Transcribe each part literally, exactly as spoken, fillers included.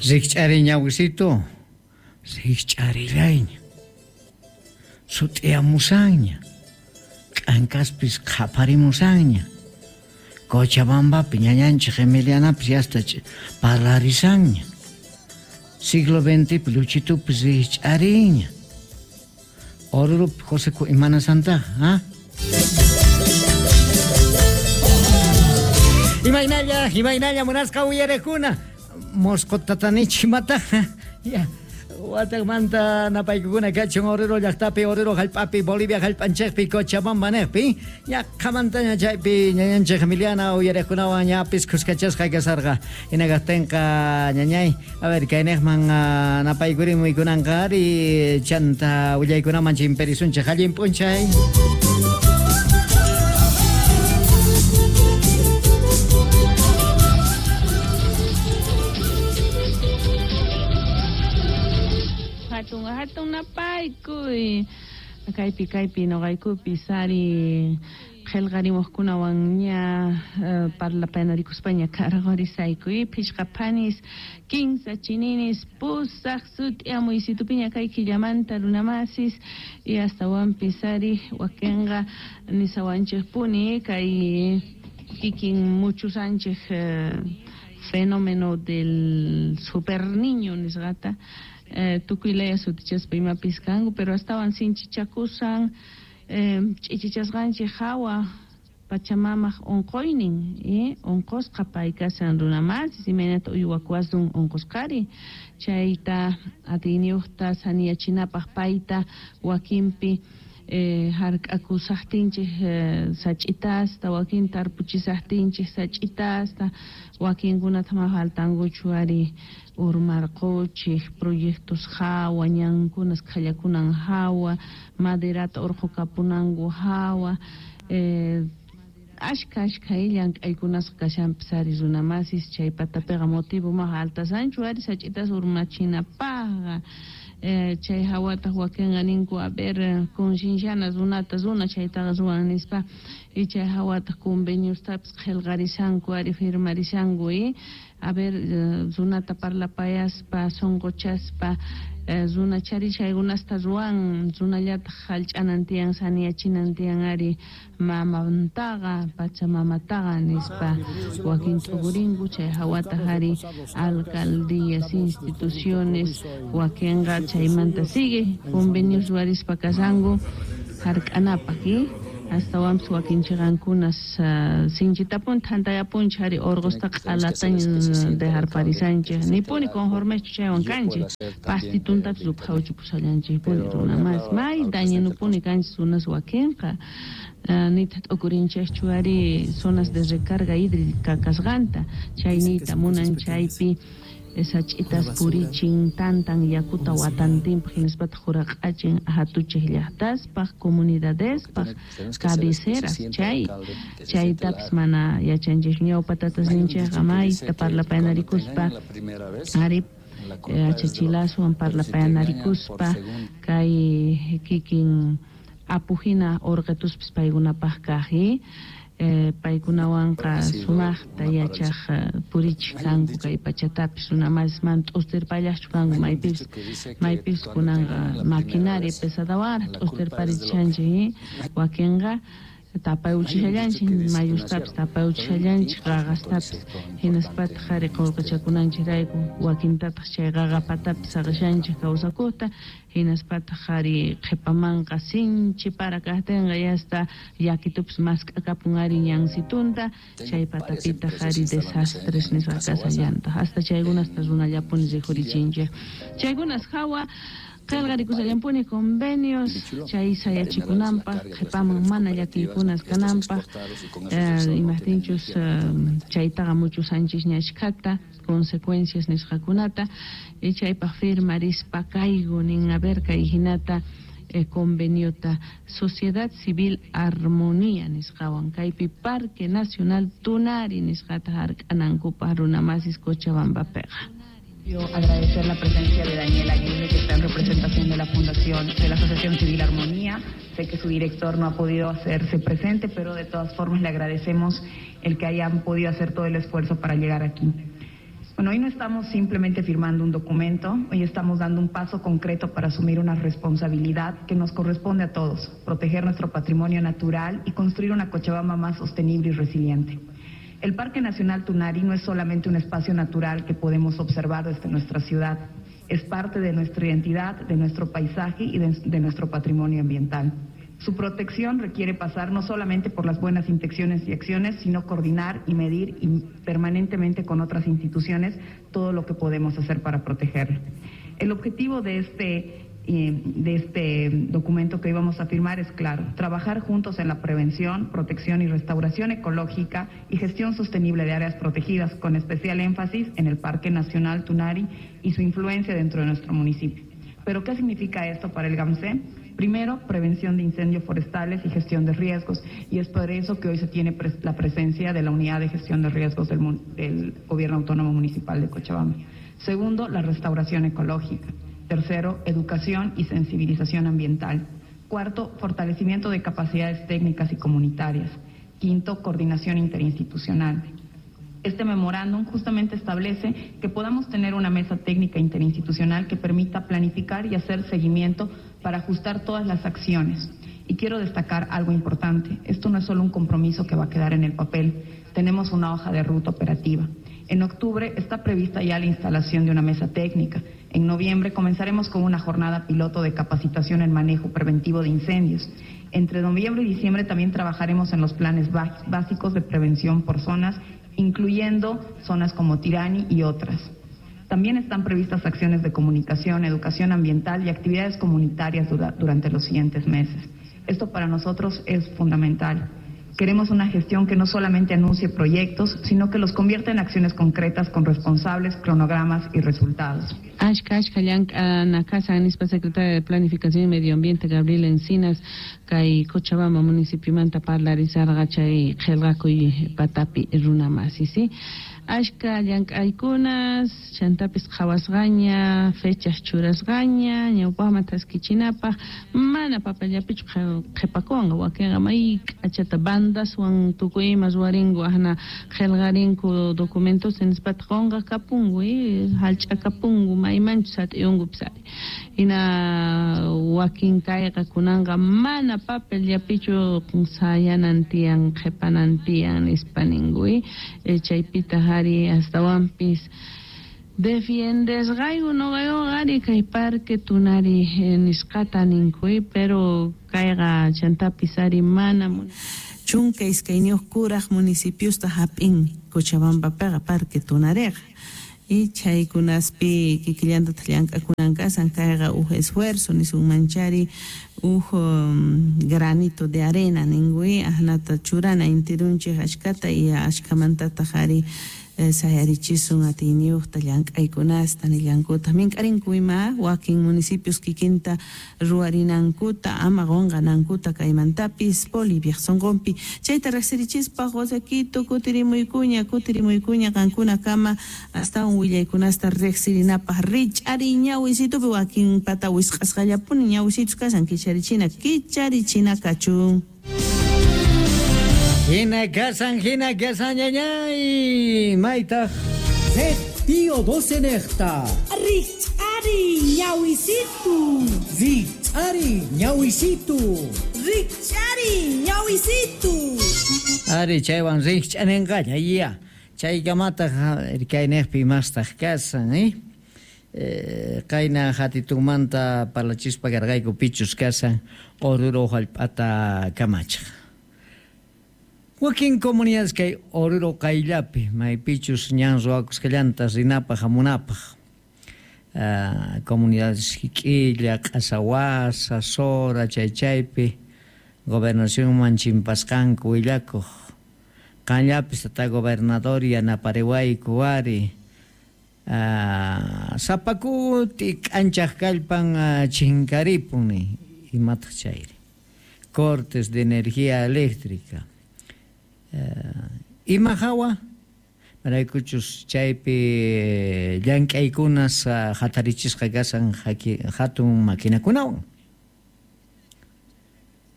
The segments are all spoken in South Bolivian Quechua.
Rikch'ari ñawisitu, rikch'arillayña, sut'iyamusanña, k'ankaspis qhaparimusanña, Cochabambapi ñañanchik Emilianapis yasta parlarisanña, siglo veintipi luchitupis rikch'ariña, Orurupi José imanasantaqa, ¿ah? Imaynalla, imaynalla munasqa uyarekuna, Mosqo tatanichi mataqa, ya. Watakmanta napaykukuna kachun Oruro llaqtapi, Oruro hallp'api, Bolivia hallp'anchikpi, Cochabamba niqpi, ñaqhamantaña chaypi ñañanchik Emiliana uyariqkunawan ñapis khuskachasqa kasarqa. Hina kaqtinqa ñañay, a ver, kayniqman napaykurimuykunanqa ari chanta willaykunaman chimperisunchik allin p'unchay. Hatun hatun napaykuy kaypi kaypi noqaykupi sari qillqarimuqkunawan ña parlapayanarikuspaña karqarisaykuy phishqa phanis kinsa chininis pusaq sut'iamuysitupiña kay killamanta runamasis y astawanpis ari wakinqa nisawanchikpuni kay kikin muchusanchik fenómeno del super niño nisqata Eh, tukuy laya sutichaspa imapis kanku pero astawan sinchichakusan eh, ch'ichichasqanchik hawa Pachamamaq unquynin eh, unqusqa pay kasan runamasis imaynata uywakuwasun unqusqari chayta atiyniyuqta saniyachinapaq payta wakinpi eh, hark'akusaqtinchik eh, sach'itasta wakin tarpuchisaqtinchik sach'itasta wakinkunata ma faltankuchu ari urmarquchik proyectos hawa ñankunas qhallakunan hawa maderata urqukapunanku hawa eh, ashka ashka llank'aykunasqa kashanpis ari runamasis chay patapiqa motivo ma altasanchu ari sach'itas urmachinapaqqa eh, chay hawataq wakinqa ninku a ver concienciana runata runa chaytaqa ruwan nispa y chay hawataq conveniostapis qillqarisanku ari firmarisanku y a ver runata parlapayaspa sunquchaspa runa chari chaykunasta ruwan runallataq hallch'anan tiyan saniyachinan tiyan ari mamantaqa pachamamataqa nispa wakin t'ukurinku chay hawataq ari alcaldías instituciones wakinqa chaymanta sigue convenios ruwarispa kasanku hark'anapaq y astawanpis wakinchiqankunas sinchitapun thantayapunchik ari urqusta q'alataña dejarparisanchik nipuni conformechu chaywan kanchik pastituntapis ruphawchupushallanchikpuni runamas may dañinupuni kanchik runas wakinqa nitaq t'ukurinchikchu ari zonas de recarga hídrica kasqanta chayniyta munan chaypi sach'itas purichin tantan yakuta watantinpaq hinaspataq huraq'achin hatuchik llaqtaspaq comunidadespaq cabeceras chay chaytapis mana yachanchikchu ñawpa tatasninchikqa mayta parlapayanarikuspa ari achachilaswan parlapayanarikuspa kay kikin apuhina urqituspis paykunapaq kaq Eh, paykunawanqa sumaqta yachaq purichik kanku kay pachatapis runamas mana t'ustirpallaqchu kanku maypipis maypipis kunanqa maquinaria pesadawanraq t'ustirparichanchik wakinqa tapayuchishallanchik mayustapis tapayuchishallanchik qaqastapis hinaspataq ari qullqichakunanchikrayku wakintataq chay qaqapatapis saqishanchik kawsakuqta hinaspataq ari qhipamanqa sinchi para kaqtinqa yasta llakitupis mask'akapun ari ñansitunta chay patapitaq ari desastres nisqa kasallantaq hasta chaykunasta runallapuni rikhurichinchik chaykunas hawa qillqarikushallanpuni convenios chay sayachikunanpaq qhipaman mana llakiykunas kananpaq imaqtinchus chaytaqa muchusanchikña ashkhata consecuencias nisqakunata y chaypaq firmarispa kayku nin a ver kay hinata eh, conveniota Sociedad Civil Armonía nisqawan kaypi Parque Nacional Tunari nisqata hark'anankupaq runamasis Cochabambapiqa. Quiero agradecer la presencia de Daniel Aguirre, que está en representación de la Fundación de la Asociación Civil Armonía. Sé que su director no ha podido hacerse presente, pero de todas formas le agradecemos el que hayan podido hacer todo el esfuerzo para llegar aquí. Bueno, hoy no estamos simplemente firmando un documento, hoy estamos dando un paso concreto para asumir una responsabilidad que nos corresponde a todos, proteger nuestro patrimonio natural y construir una Cochabamba más sostenible y resiliente. El Parque Nacional Tunari no es solamente un espacio natural que podemos observar desde nuestra ciudad, es parte de nuestra identidad, de nuestro paisaje y de, de nuestro patrimonio ambiental. Su protección requiere pasar no solamente por las buenas intenciones y acciones, sino coordinar y medir y permanentemente con otras instituciones todo lo que podemos hacer para protegerlo. El objetivo de este, eh, de este documento que hoy vamos a firmar es claro: trabajar juntos en la prevención, protección y restauración ecológica y gestión sostenible de áreas protegidas, con especial énfasis en el Parque Nacional Tunari y su influencia dentro de nuestro municipio. ¿Pero qué significa esto para el GAMCE? Primero, prevención de incendios forestales y gestión de riesgos, y es por eso que hoy se tiene pres- la presencia de la Unidad de Gestión de Riesgos del, del Gobierno Autónomo Municipal de Cochabamba. Segundo, la restauración ecológica. Tercero, educación y sensibilización ambiental. Cuarto, fortalecimiento de capacidades técnicas y comunitarias. Quinto, coordinación interinstitucional. Este memorándum justamente establece que podamos tener una mesa técnica interinstitucional que permita planificar y hacer seguimiento para ajustar todas las acciones. Y quiero destacar algo importante. Esto no es solo un compromiso que va a quedar en el papel. Tenemos una hoja de ruta operativa. En octubre está prevista ya la instalación de una mesa técnica. En noviembre comenzaremos con una jornada piloto de capacitación en manejo preventivo de incendios. Entre noviembre y diciembre también trabajaremos en los planes básicos de prevención por zonas, incluyendo zonas como Tirani y otras. También están previstas acciones de comunicación, educación ambiental y actividades comunitarias dura, durante los siguientes meses. Esto para nosotros es fundamental. Queremos una gestión que no solamente anuncie proyectos, sino que los convierta en acciones concretas con responsables, cronogramas y resultados. Ashka, ashka, llank'ana kashan nispa secretaria de Planificación y Medio Ambiente Gabriela Encinas, kay Cochabamba municipiomanta parlarisarqa chay qillqakuy patapi runa masi, ¿sí? Ashka llank'aykunas, chantapis qhawasqaña, fechas churasqaña, ñawpaqman taskichinapaq, mana papellapichu qhipakunqa, wakinqa may k'achata bandaswan tukuy ima ruwarinku, ahna qillqarinku documentos nispata qunqa kapunku, hallch'akapunku, maymanchus sat'iyunkupis ari. Hina wakin kayqa kunanqa mana papellapichu sayanan tiyan, qhipanan tiyan nispa ninku, chaypitaq ari astawanpis defiendesqayku noqaykuqa ari kay Parque Tunari nisqata ninku, pero kayqa chantapis ari mana chunka iskayniyuq kuraq municipiosta hap'in Cochabambapiqa Parque Tunariqa. Y chaykunaspi kikillantataq llank'akunan kasan kayqa uj esfuerzo nisunmanchari uj um, granito de arena ninkuy ahnata churana intirunchik ashkata y ashkamantataq ari eh, sayarichisun atiyniyuqta llank'aykunasta nillankutaq mink'arinku ima wakin municipios kikinta ruwarinankuta ama qunqanankuta kaymantapis Boliviaq sunqunpi chayta riqsirichispa Josequito kutirimuykuña kutirimuykuña qankunakama astawan willaykunasta riqsirinapaq rich'ari ñawisitupi wakin pata wisq'asqallapuni ñawisitus kashan kicharichina kicharichina kachun. Hina kasan, hina kasan, ñañay, maytaq. Tío doce nejta. Rich'ari ñawisitu. Rich'ari ñawisitu. Rich'ari ñawisitu. Ari chaywan rich'aninqalla, ya. Chaykamataq irkaynejpi mastaq kasan, eh? Eh, qayna hatitumanta parlachispa karqayku pichus kasan Oruro hallp'ata kamachaq. Wakin comunidades kay Oruro qayllapi maypichus ñan ruwakusqallanta rinapaq hamunapaq. Uh, comunidades Jiquilla, Q'asawasa, Sora, chaychaypi gobernacionman chimpasqanku willakuq. Qanllapis tata gobernador yanapariwayku ari. Uh, sapakuti k'anchaq kallpan uh, chinkaripun imataq chayri. Cortes de energía eléctrica. Uh, ima hawa maraykuchus chaypi llank'aykunas uh, hatarichisqa kasan hatun maquinakunawan.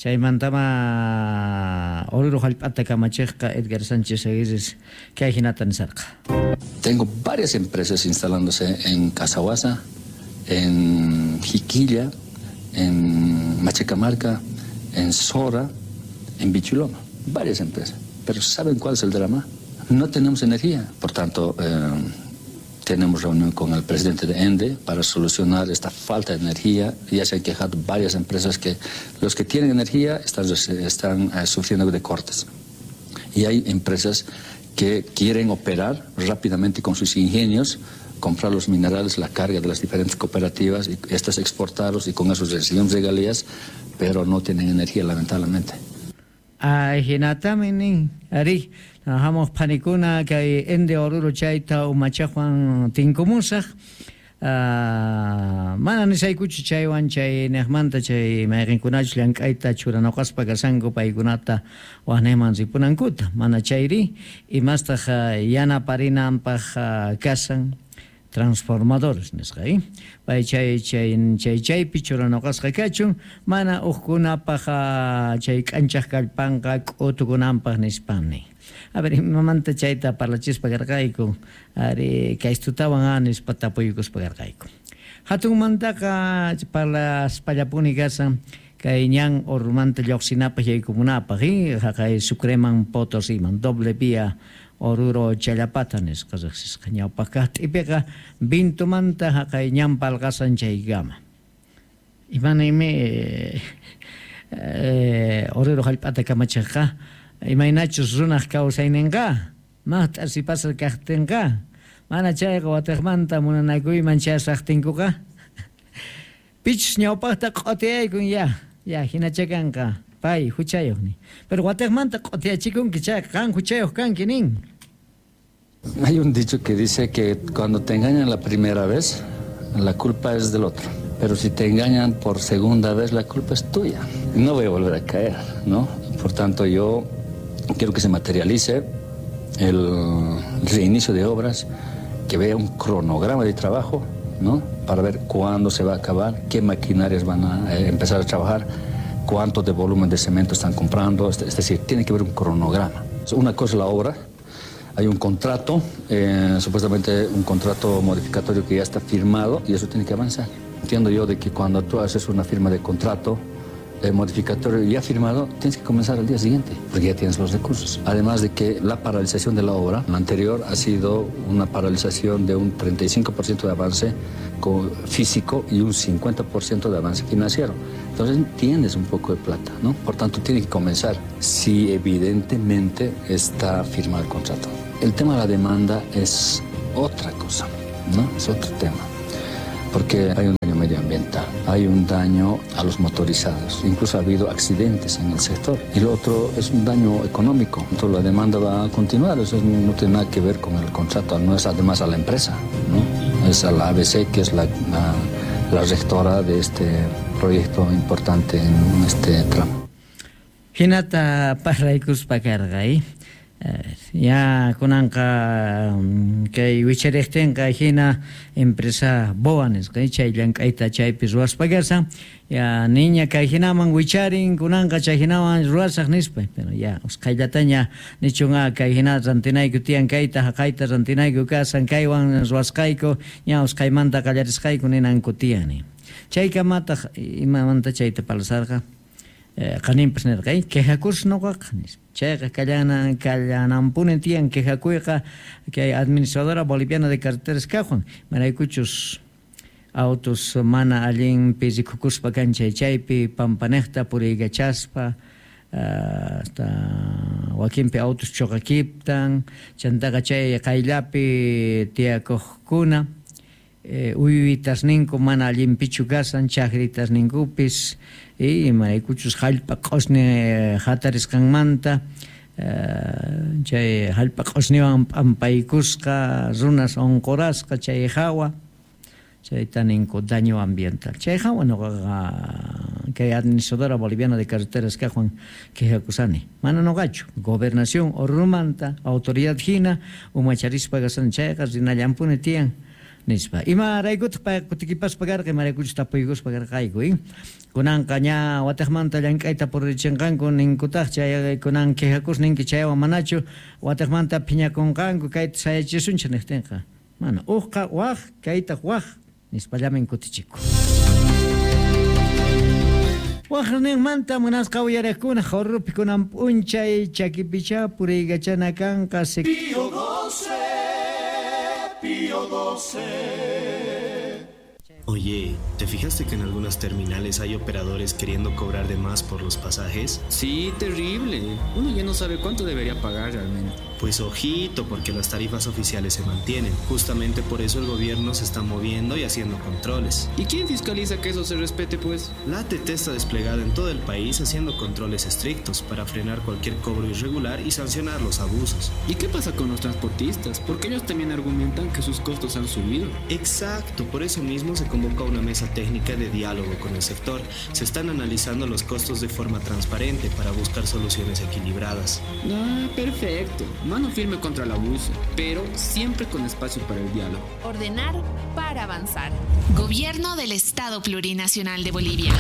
Chaymantama Oruro hallp'ata kamachiqqa Edgar Sánchez Aguirre kay hinata nisarqa. Tengo varias empresas instalándose en Casahuasa, en Jiquilla, en Machacamarca, en Sora, en Bichuloma, varias empresas. Pero ¿saben cuál es el drama? No tenemos energía. Por tanto, eh, tenemos reunión con el presidente de ENDE para solucionar esta falta de energía. Ya se han quejado varias empresas que los que tienen energía están, están eh, sufriendo de cortes. Y hay empresas que quieren operar rápidamente con sus ingenios, comprar los minerales, la carga de las diferentes cooperativas y estas exportarlos y con eso reciben regalías, pero no tienen energía, lamentablemente. Ay, hinatami nin, ari, trabajamos panikuna kay ENDE Oruro chayta umachajuan tinkumusaj, uh, mana nisaykuchu chaywan chay nejmanta chay mayqinkunachus llank'ayta churanoqaspa kasanku paykunata wajnejman ripunankuta, mana chayri imastaq uh, yanaparinanpaq uh, kasan transformadores nisqa, eh? Pay chay chay chay chaypi churanoqasqa kachun mana uqkunapaq chay k'anchaq kallpanqa k'utukunanpaq nispani. A ver, imamanta chayta parlachispa karqayku, ari kaystutawan a nispa tapuykuspa karqayku. Hatunmantaqa parlaspallapuni kasan kay ñan Orurumanta lluqsinapaq yaykumunapaq, eh? Haqay Sucreman Potosiman, doble vía Oruro Challapata nisqa riqsisqa ñawpaq kaq t'ipiqa Vintumanta haqay ñan palqasan chaykama. Imanaymi eh, eh, Oruro hallp'ata kamachiqqa imaynachus runaq kawsayninqa maqt'a sipasqa kaqtinqa mana chayqa watiqmanta munanakuyman chayasaqtinkuqa pichus ñawpaqta q'utiyaykun ya ya hinacha kanqa pay huchayuq nin. Pero watiqmanta q'utiyachikunki chayqa qan huchayuq kanki nin. Hay un dicho que dice que cuando te engañan la primera vez, la culpa es del otro. Pero si te engañan por segunda vez, la culpa es tuya. No voy a volver a caer, ¿no? Por tanto, yo quiero que se materialice el reinicio de obras, que vea un cronograma de trabajo, ¿no? Para ver cuándo se va a acabar, qué maquinarias van a empezar a trabajar, cuánto de volumen de cemento están comprando. Es decir, tiene que haber un cronograma. Una cosa es la obra. Hay un contrato, eh, supuestamente un contrato modificatorio que ya está firmado y eso tiene que avanzar. Entiendo yo de que cuando tú haces una firma de contrato eh, modificatorio ya firmado, tienes que comenzar al día siguiente, porque ya tienes los recursos. Además de que la paralización de la obra, la anterior, ha sido una paralización de un treinta y cinco por ciento de avance físico y un cincuenta por ciento de avance financiero. Entonces tienes un poco de plata, ¿no? Por tanto, tiene que comenzar si evidentemente está firmado el contrato. El tema de la demanda es otra cosa, ¿no? Es otro tema, porque hay un daño medioambiental, hay un daño a los motorizados, incluso ha habido accidentes en el sector. Y lo otro es un daño económico. Entonces la demanda va a continuar, eso no tiene nada que ver con el contrato, no es además a la empresa, ¿no? Es a la A B C, que es la, la, la rectora de este proyecto importante en este tramo. Hinata parlaykuspa karqa, ¿eh? Ya kunanqa kay wichariqtinqa hina empresa boa nisqa chay llank'ayta chaypi ruwaspa kashan ya niña kay hinaman wicharin kunanqa chay hinaman ruwasaq nispa, pero ya usqhayllataña nichunqa kay hina rantinayku tiyan kayta haqayta rantinayku kasan kaywan ruwasqayku ña usqhaymanta qallarisqayku ninanku tiyani. Chaykamataq imamanta chayta parlasarqa qaninpas nirqa quejakus noqaqa nispa. Chayqa kallana kallanampuni tiyan quejakuyqa kay administradora boliviana de carreteras kaqwan maraykuchus autos mana allinpi rikukuspa kan chay chaypi pampanejta puriykachaspa hasta wakinpi autos choqakiptan chantaqa chay qayllapi tiyakuqkuna eh, uywitasninku mana allinpichu kasan chakritasninkupis y maraykuchus hallp'a q'usni hatarisqanmanta chay hallp'a q'usniwan p'ampaykusqa runas unqurasqa chay hawa chayta ninku daño ambiental chay hawa nuqaqa kay administradora boliviana de carreteras kaqwan quejakusani mana nuqachu gobernación Orurumanta autoridad hina umacharispa kasan chayqa rinallampuni tiyan Nispa. Imaraykutaq pay kutikipaspa karqa, imaraykuchus tapuykuspa karqayku, eh? Kunanqa ña wataqmanta llank'ayta purichinqanku ninkutaq chay kunan quejakus ninki chaywan manachu wataqmanta phiñakunqanku kayta sayachisunchik niqtinqa. Mana uqqa waq kaytaq waq nispallamin kutichiku. Waqninmanta munasqa uyariqkuna Oruropi kunan p'unchay chakipicha puriykachana kanqa. Pío doce, Pío doce. Oye, ¿te fijaste que en algunas terminales hay operadores queriendo cobrar de más por los pasajes? Sí, terrible. Uno ya no sabe cuánto debería pagar realmente. Pues ojito, porque las tarifas oficiales se mantienen. Justamente por eso el gobierno se está moviendo y haciendo controles. ¿Y quién fiscaliza que eso se respete, pues? La A T T está desplegada en todo el país haciendo controles estrictos para frenar cualquier cobro irregular y sancionar los abusos. ¿Y qué pasa con los transportistas? Porque ellos también argumentan que sus costos han subido. Exacto, por eso mismo se convoca una mesa técnica de diálogo con el sector. Se están analizando los costos de forma transparente para buscar soluciones equilibradas. Ah, perfecto. Mano firme contra el abuso, pero siempre con espacio para el diálogo. Ordenar para avanzar. Gobierno del Estado Plurinacional de Bolivia.